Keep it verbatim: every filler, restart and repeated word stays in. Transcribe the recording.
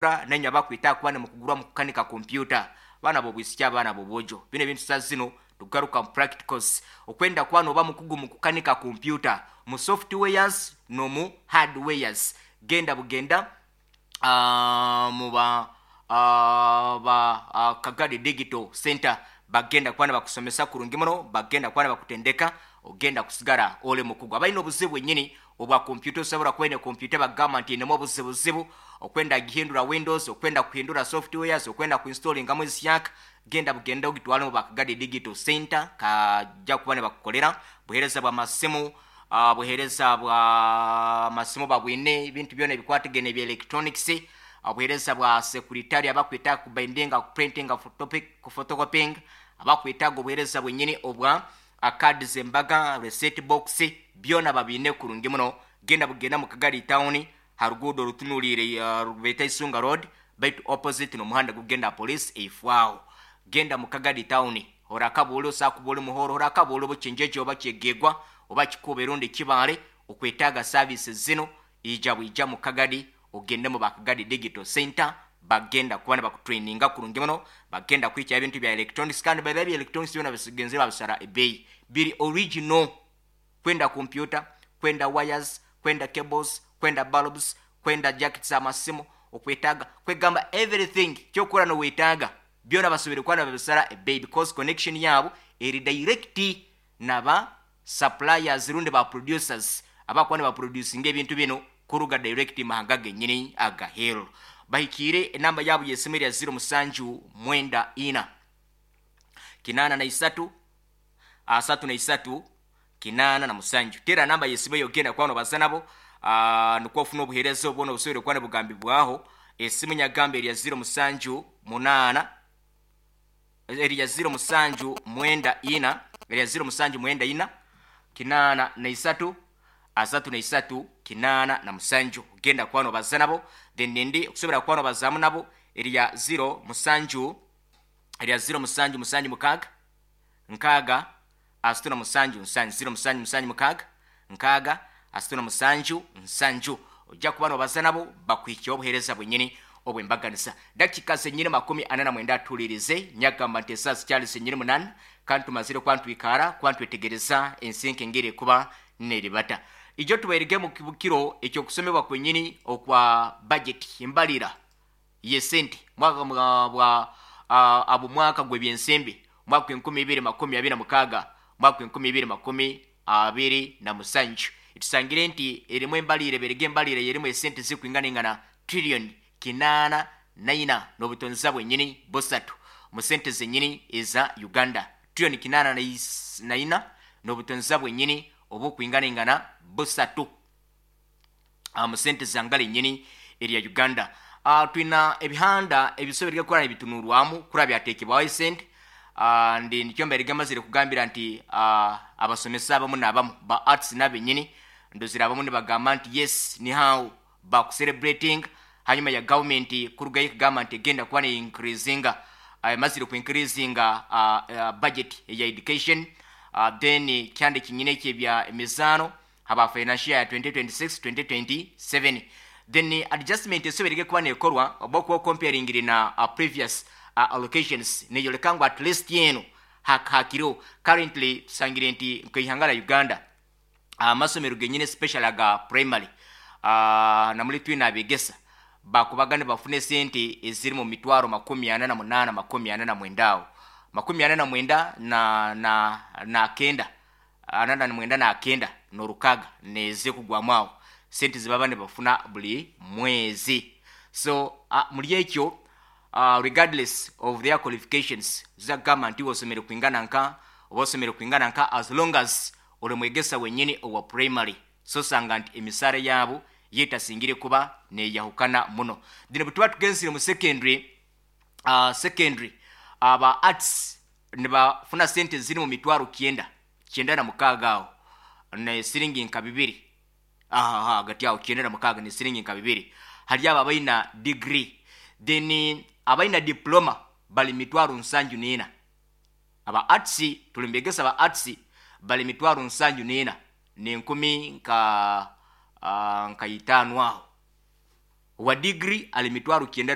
Nenya bakwita kuba nimukugurwa mu kukanika kompyuta, baana b'obwisiki, abaana b'obwojo, bino ebintu sa zino tugaruka mu practicals. Okwenda kuba noba mukugu mu kukanika kompyuta, mu softwares n'omu hardwares, genda bugenda uh, muba uh, ba uh, Kagadi Digital Center. Bagenda kuba nibakusomesa kurungi muno, bagenda kuba nibakutendeka, ogenda kusigara oli mukugu. Abalina obuzibu bwenyini obwa kompyuta, osobola kuba ine kompyuta bagamba nti inemu obuzibuzibu, okwenda gihindura Windows, okwenda kuhindura softwares, okwenda kuinstalingamu ezisyaka, genda bugenda ogitwale mu Bakagadi Digital Center, kajja kuba nibakukolera. Buheereza bw'amasimu, uh, buheereza bwa masimu babwine, ebintu byona ebikwatagene ebya electronics, obuheereza bwa secretary, abakwetaaga kubindinga, kuprintinga, photocopying, abakwetaaga obuheereza bwenyini obwa card zembaga, receipt box, byona babiine kurungi muno. Genda bugenda mu Kagadi Town, ha ruguudo rutunuliire uh, beeta Isunga Road, baitu opposite n'omuhanda gugenda police eifwaho. Genda mu Kagadi Town, orakabuule osakuba oli Muhoro, orakabuule obukinjeje oba Kyegegwa oba Kikuubo erundi Kibaale, okwetaaga services zino, ija bwija mu Kagadi, ogende mu Bakagadi Digital Center. Bagenda kuba nibakutraininga kurungi muno, bagenda kwikya ebintu bya electronics, kandi baba bya electronics byona bisigenzire babisara ebeeyi, biri original. Kwenda computer, kwenda wires, kwenda cables, kwenda bulbs, kwenda jackets amasimu, okwetaaga kwegamba everything kyokora nowetaaga byona basobere kuba nibabisara ebeeyi, because connection yaabo eri direct naba suppliers rundi ba producers abakuba nibaproducinga ebintu bino kuruga direct mahanga genyini agaheru. Bahikiire enamba yaabo yesimu erya ziro musanju mwenda ina kinaana na isatu asatu na isatu kinaana na musanju. Tera namba yesimu eyo, ogenda kuba nobaza nabo, uh, nikwo ofuna obuheereza obwona obusobere kuba nibugambibwaho. Esimu nyagamba erya ziro musanju munaana, erya ziro musanju mwenda ina, erya ziro musanju mwenda ina kinaana na isatu asatu na isatu kinaana na musanju. Genda kuba nobaza nabo. Then nindi okusobora kuba nobazaamu nabo erya ziro musanju, erya ziro musanju musanju mukaaga nkaaga asatu na musanju nsanju, ziro musanju musanju mukaaga nkaaga asatu na musanju nsanju. Ojja kuba nobaza nabo, bakuhikyeho obuheereza bwenyini obwembaganisa. Dakika zenyini makumi ana na mwenda. Atuulirize, nyagamba nti esaawa zikyali zenyini munana, kandi tumazire kuba ntwikaara kuba ntwetegereza ensinka engeri ekuba neribata. Ijo tubairige mu kiro ekyokusomebwa kwenyini okwa budget, embalira yesente mwaka bwa uh, abo mwaka gw'ebyensimbi, mwaka enkumi ibiri makumi abiri na mukaaga, mwaka enkumi ibiri makumi abiri na musanju. Tusangire nti erimu embalire, berege embalire yerimu esente zikwinganingana trillion kinaana naina n'obutonza bwenyini busatu mu sente zenyini eza Uganda, trillion kinaana naina n'obutonza bwenyini obukwinganingana busatu mu sente zangala enyini erya Uganda. uh, twina ebihanda ebisobere kuba nibitunurwamu kura byatekebwaho esente. uh, ndi nikyo mberege mazire kugambira nti uh, abasomesa abamu n'abamu ba arts n'abenyini ndozira abamu nibagamba nti yes, ni how bakucelebrating hanyuma ya government kurugayo kugamba nti egenda kuba ne increasinga, uh, mazire ku increasinga uh, uh, budget ya education. uh, then kyande kinyine kyebya emizaano haba financial ya twenty twenty-six twenty twenty-seven, then adjustment esoberege kuba nekorwa oba okuba comparing na uh, previous uh, allocations, neyoleka ngu at least yeno hakiro currently tusangire nti nkeihanga la Uganda amasomero uh, genyine, special aga primary, uh, namuli twina abegesa bakubaga nibafuna esente eziri mu mitwaro makumi ana na munaana, makumi ana na mwenda awo, makumi ana na mwenda na na na kenda, ana na mwenda na kenda n'orukaga neze kugwamu awo, sente zibaba nibafuna buli mwezi. So uh, muri ekyo, uh, regardless of their qualifications, zagamba nti osomere kwingana nka oba osomere kwingana nka, as long as oli mwegesa wenyini owa primary, so sanga nti emisara yaabo yetasingire kuba neyahukana muno. Then bwe tuba tugenzire mu secondary, uh, secondary aba arts nibafuna sente ziri mu mitwaro kyenda, kyenda na mukaaga awo ne siringi nka bibiri, aha hagati awo, kyenda na mukaaga ne siringi nka bibiri, hali abo abalina degree. Then abalina diploma bali mitwaro nsanju nena. Aba arts, tulimbegesa ba arts bali mitwaro nsanju nena nenkumi nka uh, nka itaano aho. Owa digiri ali mitwaro kyenda.